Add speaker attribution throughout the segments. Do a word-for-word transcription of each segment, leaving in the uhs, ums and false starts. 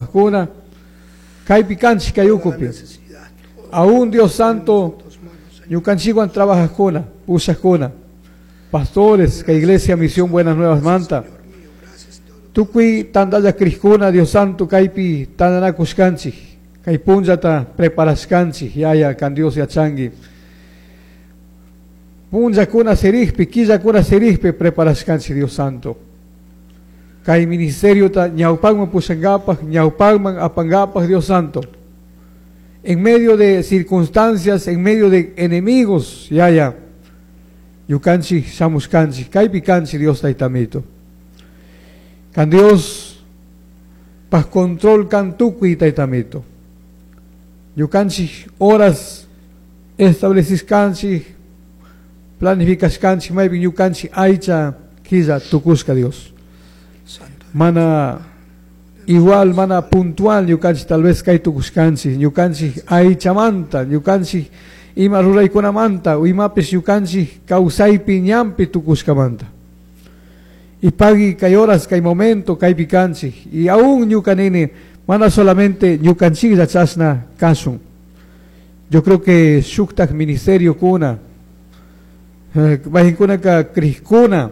Speaker 1: apajkuna kaypi kanchik kay
Speaker 2: Toda
Speaker 1: ukupi.
Speaker 2: necesidad, todo
Speaker 1: Aún Dios
Speaker 2: en
Speaker 1: Santo,
Speaker 2: tus manos, Señor.
Speaker 1: ñukanchikwan trabajajkuna, pushajkuna, pastores, kay iglesia Misión Buenas Nuevas manta.
Speaker 2: Señor mío, gracias todo.
Speaker 1: Tukuy tantalla crijkuna, Dios Santo, kaypi tantanakushkanchik, kay punllata preparashkanchik, yaya, kan Dios yachanki. Punllakuna sirikpi, killakuna sirikpi preparashkanchik, Dios Santo. Kay ministerio ta ñawpakman pushankapaj, ñawpakman apankapaj, Dios Santo. En medio de circunstancias, en medio de enemigos, yaya, ñukanchik shamushkanchik, kaypi kanchik, Dios tayta amito. Kan Dios paj control kan tukuy tayta amito. Ñukanchik horas establecishkanchik, planificashkanchik, maypi ñukanchik aycha killa tukushka Dios.
Speaker 2: Santo
Speaker 1: Mana igual, mana puntual ñukanchik tal vez kay tukushkanchik, ñukanchik aychamanta, ñukanchik ima ruraykunamanta, o imapish ñukanchik kawsaypi ñanpi tukushkamanta. Y pagui kay horas, kay momento, kaypi kanchik. Y aún ñuka nini, mana solamente ñukanchiklla chashna kashun. Yo creo que shuktak ministerio kuna, eh, mayqinkunaka crijkuna,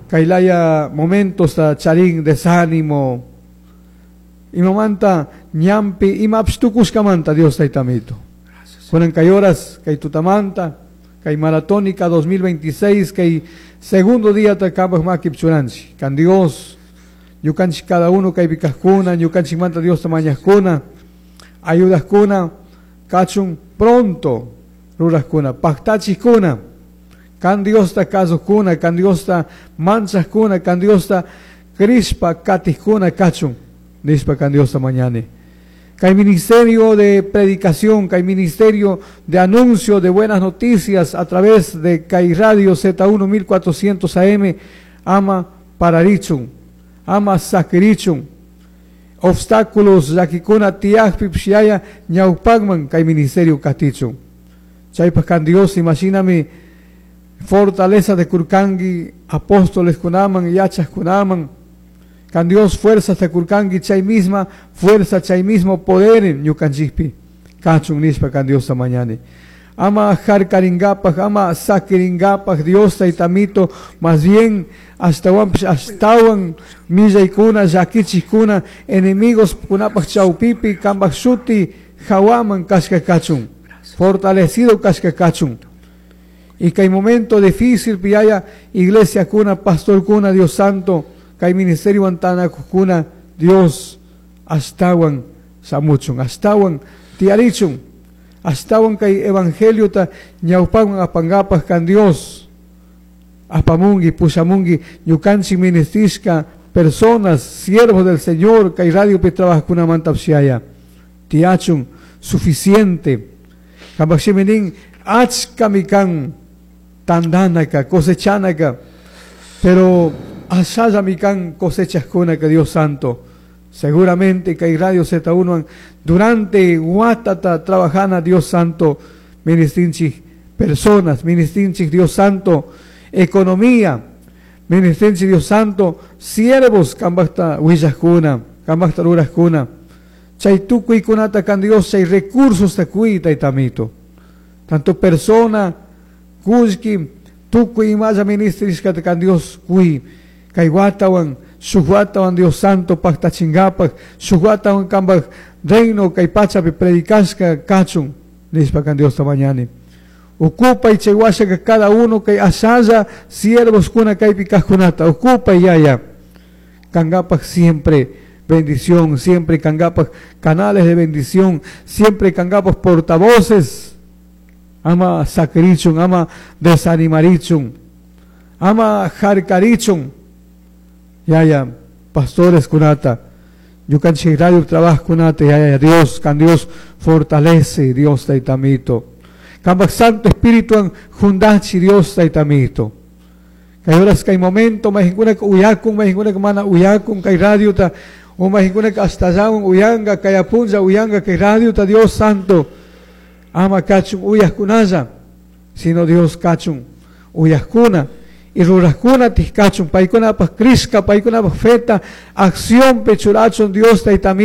Speaker 1: kaylaya momentos ta charin desánimo, imamanta ñanpi imapish tukushkamanta Dios tayta amito.
Speaker 2: Gracias.
Speaker 1: Kunan kay horas, kay tutamanta, kay maratónica dos mil veintiséis, kay segundo día ta kampak makipi churanchik. Kan Dios, ñukanchik cada uno kaypi kajkuna, ñukanchikmanta Dios ta mañajkuna, ayudajkuna, kachun pronto rurajkuna, paktachikuna, kan Diosta kasujkuna, kan Diosta manchajkuna, kan Diosta crishpa katijkuna kachun, nishpa kan Diosta mañani. Kay ministerio de predicación, kay ministerio de anuncio de buenas noticias a través de kay Radio Z uno mil cuatrocientos A M, ama pararichun, ama sakirichun, obstáculos llakikuna tiyajpi pshiyaya ñawpakman kay ministerio katichun. Chaypaj kan Dios, imagíname, fortaleza de kurkangi, apóstoles kunaman, yachas kunaman, kan Dios fuerza de kurkangi, chay misma fuerza, chay mismo poder en ñukanchikpi, kachun nishpa kan Dios mañani. Ama jarkaringapaj, ama sakiringapaj, Dios tayta amito, más bien ashtawanpish ashtawan millaykuna, llakichikuna, enemigos kunapaj chawpipi, kambaj shuti, hawaman kashka kachun, fortalecido kashka kachun. Y que hay momento difícil, piyaya, iglesia kuna, pastor kuna, Dios Santo, kay ministerio antana kuna, Dios, ashtawan samuchun, ashtawan tiarichun, ashtawan kay evangelio ta ñawpawan apangapaj kan Dios, apamungi, pushamungi, ñukanchik ministishka, personas, siervos del Señor, kay radio pi trabajkunamanta psiaya, tiachun, suficiente. Kambaj shiminin, achka mikan, tandanaka, cosechanaka, pero ashalla mikan cosechaskunaka, Dios Santo. Seguramente que hay Radio Z uno durante Guatata trabajana Dios Santo, ministrinchis personas, ministrinchis Dios Santo, economía, ministrinchis Dios Santo, siervos kambajta huillajkuna, kambajta rurajkuna, chay tukuykunata kan Dios, chay recursos takuy taytamito. Tanto persona, kullki, tukuy imalla ministrishkata kan Dios kuy, kay watawan, shuk watawan Dios Santo paktachingapak, shuk watawan kambaj reino kay pachapi predicashka kachun, nishpa kan Dios mañani. Ocupa y chay washaka cada uno kay ashalla siervos kuna kaypi kajkunata, ocupa y yaya. Kangapak siempre bendición, siempre kangapak canales de bendición, siempre kangapak portavoces. Ama sakrichun, ama desanimarichun, ama jarkarichun. Yaya, pastores kunata, ñukanchik radio trabajo kunata, yaya, Dios, kan Dios fortalece, Dios tayta amito. Kambaj Santo Espíritu an jundachi, Dios tayta amito. Kay horas kay momento, mahinkuna ka uyakun, mahinkuna ka mana uyakun, kay radio ta, o mahinkuna ka hasta allá uyanga, kay apunja uyanga, kay radio ta, Dios Santo. Ama kachun uyajkunalla, sino Dios kachun uyajkuna y rurajkuna tijkachun, paykunapaj crishka, paykunapaj feta, acción pechurachun Dios tayta amito.